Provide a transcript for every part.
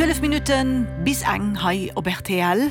12 Minutten bis eng hei op rtl.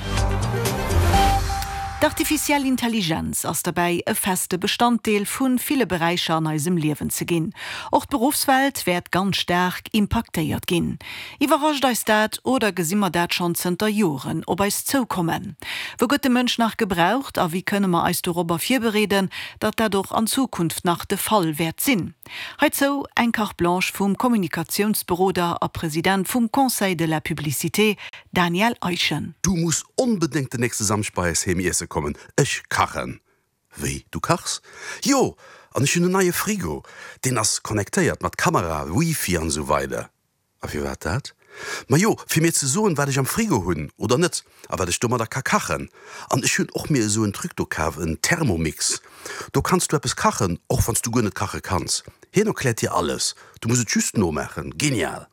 D'artificiell Intelligenz ass derbäi e feste Bestanddeel vu ville Beräicher an eisem Liewen ze ginn. Och d'Beruffswelt wäert ganz staark impaktéiert ginn. Iwwerrascht eis dat oder gesi mer dat schonn zënter Joren op eis zoukommen? Wou gëtt de Mënsch nach gebraucht a wéi kënne mer eis dorobber virbereeden, datt dat och an Zukunft nach de Fall wäert sinn? Heizou eng Carte blanche vum Kommunikatiounsberoder a President vum Conseil de la publicité Daniel Eischen. Du muss onbedéngt den nächste Samschd bei eis heem iesse kommen, ech kachen. Wéi, du kachs? Jo, an ech hunn en neie Frigo, deen ass connectéiert mat Kamera, Wifi an esou weider. A firwat dat? Majo, fir mir ze soen, wat ech am Frigo hunn oder net a wat ech domadder ka kachen. An ech hunn och mir esou en Truc do kaf, en Thermomix. Do kanns du eppes kachen, och wann s du guer net kache kanns. Hien erkläert dir alles, du muss et just nomaachen. Genial!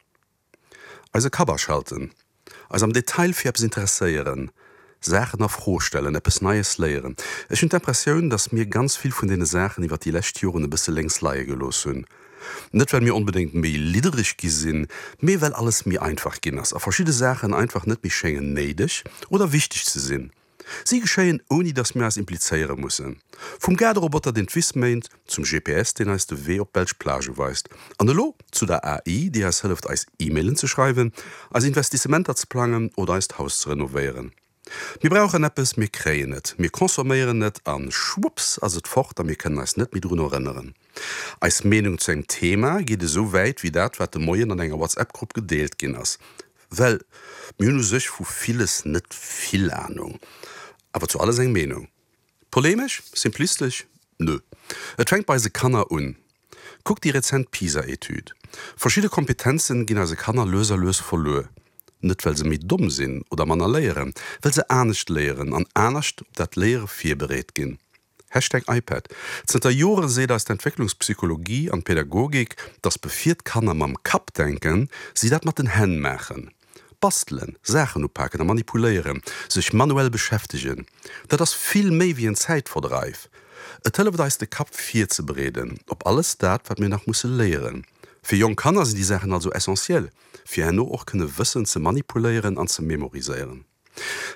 Eise Kapp aschalten, eis am Detail fir eppes interesséieren, Saachen a Fro stellen, eppes Neies léieren. Ech hunn d'Impressioun, datt mir ganz vill vun deene Saachen iwwer déi lescht Joren e bësse lénks leie gelooss hunn. Net well mir onbedéngt méi liddereg gi sinn, mee well alles méi einfach ginn ass a verschidde Saachen einfach net méi schéngen néideg oder wichteg ze sinn. Si geschéien ouni datt mir eis implizéiere mussen. Vum Gaarderoboter deen d'Wiss méint, zum GPS deen eis de Wee op d'belsch Plage weist, an elo zu der AI déi eis hëlleft eis E-Mailen ze schreiwen, eis Investissementer ze plangen oder eist Haus ze renovéieren. Mir brauchen eppes, mir kréien et, mir consomméieren et a schwupps ass et fort a mir kënnen eis net méi drun erënneren. Eis Meenung zu engem Thema geet esou wäit wéi dat wat de Moien an enger WhatsApp-Grupp gedeelt ginn ass. Well mir hunn u sech vu villes net vill Anung, awer zu alles eng Meenung. Polemesch? Simplistesch? Nö. Et fänkt bei eise Kanner un. Kuckt déi rezent PISA-Etüd. Verschidde Kompetenzen ginn eise Kanner lues a lues verluer. Net well se méi domm sinn oder manner léieren, well se anescht léieren an anescht op dat Léiere virbereet ginn. Hashtag iPad. Zënter Jore seet eis d'Entwécklungspsychologie an d'Pädagogik, dass bevir d'Kanner mam Kapp denken, si dat mat den Hänn maachen. Bastelen, Saachen upaken a manipuléieren, sech manuell beschäftegen, dat ass vill méi wéi en Zäitverdreif. Et hëlleft eis de Kapp virzebereeden op alles dat, wat mir nach musse léieren. Fir jonk Kanner sinn déi Saachen also essentiel, fir herno och kënne Wëssen ze manipuléieren an ze memoriséieren.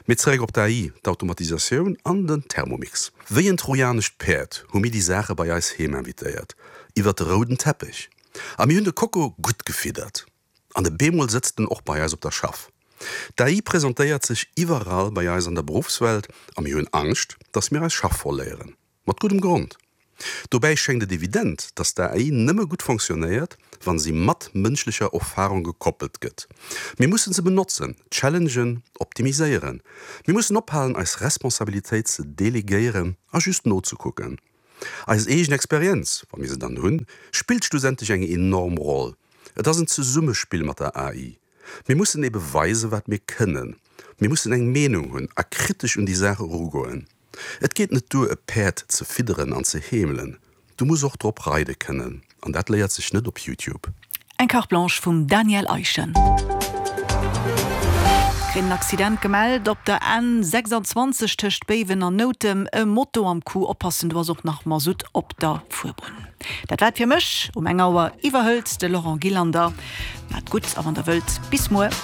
Mee zeréck op d'AI, d'Automatisatioun an den Thermomix. Wéi en trojanescht Päerd hu mir déi Saache bei eis heem invitéiert, iwwert de rouden Teppech. A mir hunn de Koko gutt gefiddert. An e bemol sëtzt en och bei eis op der Schaff. D'AI presentéiert sech iwwerall bei eis an der Beruffswelt a mir hunn Angscht, dass mir eis Schaff verléieren. Mat guddem Grond. Dobäi schéngt et evident, datt d'AI nëmme gutt fonctionnéiert, wa si mat mënschlecher Erfarung gekoppelt gëtt. Mir mussen se benotzen, challengen, optimiséieren. Mir mussen ophalen, eis Responsabilitéit ze delegéieren a just nozekucken. Eis eegen Experienz, wa mir se dann hunn, spillt schlussendlech eng enorm Roll. Et ass en Zesummespill mat der AI. Mir mussen ebe weisen, wat mir kënnen. Mir mussen eng Meenung hunn a kritesch un déi Saach erugoen. Et geet net duer e Päerd ze fidderen an ze heemelen, du muss och drop reide kënnen, an dat léiert sech net op Youtube. Eng Carte Blanche vum Daniel Eischen. Kréien en Accident gemellt op der N 26 tëscht Béiwen an Noutem. E Moto am Coup, oppassen, do ass och nach Masutt op der Fuerbunn. Dat war et fir mech. Um eng Auer iwwerhëlt de Laurent Gillander. Maat gutt a wann der wëllt, bis muer.